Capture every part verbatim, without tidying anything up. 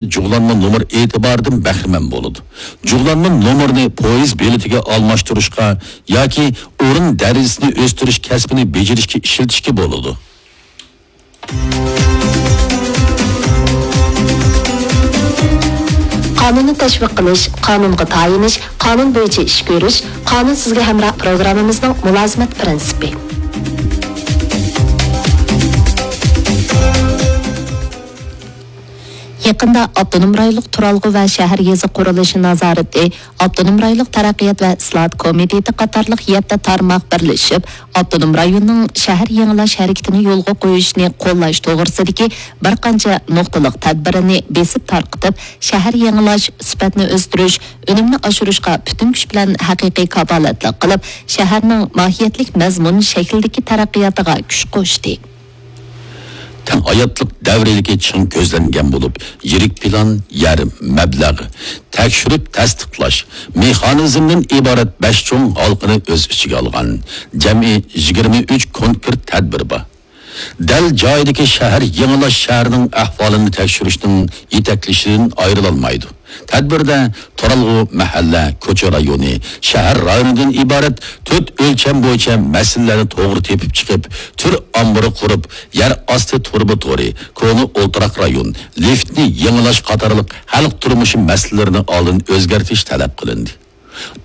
جۇغلانما نومۇر ئېتىبارىدىن بەھرىمەن بولىدۇ. جۇغلانما نومۇرنى پويىز بېلىتىگە ئالماشتۇرۇشقا ياكى ئورۇن دەرىجىسىنى ئۆستۈرۈش كەسپىنى بېجىرىشكە ئىشلىتىشكە بولىدۇ. قانۇننى تەشۋىق قىلىش، قانۇنغا تايىنىش، قانۇن بويىچە ئىش كۆرۈش، قانۇن سىزگە ھەمراھ پروگراممىمىزنىڭ مۇلازىمەت پىرىنسىپى. يېقىندا ئاپتونوم رايونلۇق تۇرالغۇ ۋە شەھەر يېزا قۇرۇلۇشى نازارىتى، ئاپتونوم رايونلۇق تەرەققىيات ۋە ئىسلاھات كومىتېتى قاتارلىق يەتتە تارماق بىرلىشىپ، ئاپتونوم رايوننىڭ شەھەر يېڭىلاش ھەرىكىتىنى يولغا قويۇشنى قوللاش توغرىسىدىكى بىر قانچە نۇقتىلىق تەدبىرىنى بېسىپ تارقىتىپ، شەھەر يېڭىلاش، سۈپەتنى ئۆستۈرۈش، ئۈنۈمنى ئاشۇرۇشقا پۈتۈن كۈچ بىلەن ھەقىقىي كاپالەتلىك قىلىپ، شەھەرنىڭ ماھىيەتلىك مەزمۇن شەكلىدىكى تەرەققىياتىغا كۈچ قوشتى. تەڭ ھاياتلىق دەۋرىيلىكى چىڭ كۆزلەنگەن بولۇپ، يىرىك پىلان، يەر، مەبلەغ، تەكشۈرۈپ تەستىقلاش مېخانىزمدىن ئىبارەت بەش چوڭ ھالقىنى ئۆز ئىچىگە ئالغان جەمئىي يىگىرمە ئۈچ كونكرېت تەدبىر بار. دەل جايىدىكى شەھەر يېڭىلاش شەھەرنىڭ ئەھۋالىنى تەكشۈرۈشنىڭ يېتەكلىشىدىن ئايرىلالمايدۇ. تەدبىردە تۇرالغۇ، مەھەللە، كوچا رايونى، شەھەر رايونىدىن ئىبارەت تۆت ئۆلچەم بويىچە مەسىلىلەرنى توغرا تېپىپ چىقىپ، تۈر ئامبىرى قۇرۇپ، يەر ئاستى تۇرۇبا تورى، كونا ئولتۇراق رايون، لىفتنى يېڭىلاش قاتارلىق خەلق تۇرمۇشى مەسىلىلىرىنى ئالدىن ئۆزگەرتىش تەلەپ قىلىندى.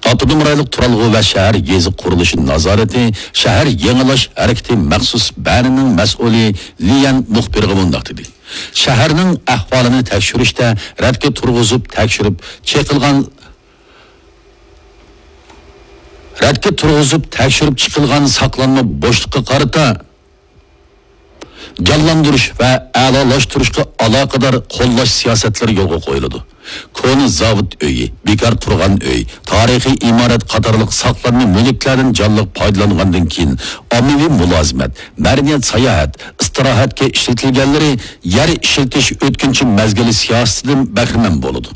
ئاپتونوم رايونلۇق تۇرالغۇ ۋە شەھەر يېزا قۇرۇلۇشى نازارىتى شەھەر يېڭىلاش ھەرىكىتى مەخسۇس بەنىنىڭ مەسئۇلى ليەن مۇخبىرغا مۇنداق دېدى: شەھەرنىڭ ئەھۋالىنى تەكشۈرۈشتە رەتكە تۇرغۇزۇپ تەكشۈرۈپ چېقىلغان رەتكە تۇرغۇزۇپ تەكشۈرۈپ چىقىلغان ساقلانما بوشلۇققا قارىتا جانلاندۇرۇش ۋە ئەلالاشتۇرۇشقا ئالاقىدار قوللاش سىياسەتلىرى يولغا قويۇلىدۇ. كونا زاۋۇت ئۆيى، بىكار تۇرغان ئۆي، تارىخىي ئىمارەت قاتارلىق ساقلانما مۈلۈكلەردىن جانلىق پايدىلانغاندىن كېيىن، ئاممىۋى مۇلازىمەت، مەدەنىيەت، ساياھەت، ئىستىراھەتكە ئىشلىتىلگەنلىرى يەر ئىشلىتىش ئۆتكۈنچى مەزگىلى سىياسىتىدىن بەھرىمەن بولىدۇ.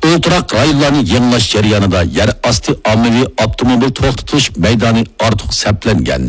ئولتۇراق رايونلارنى يېڭىلاش جەريانىدا يەر ئاستى ئاممىۋى ئاپتوموبىل توختىتىش مەيدانى ئارتۇق سەپلەنگەن،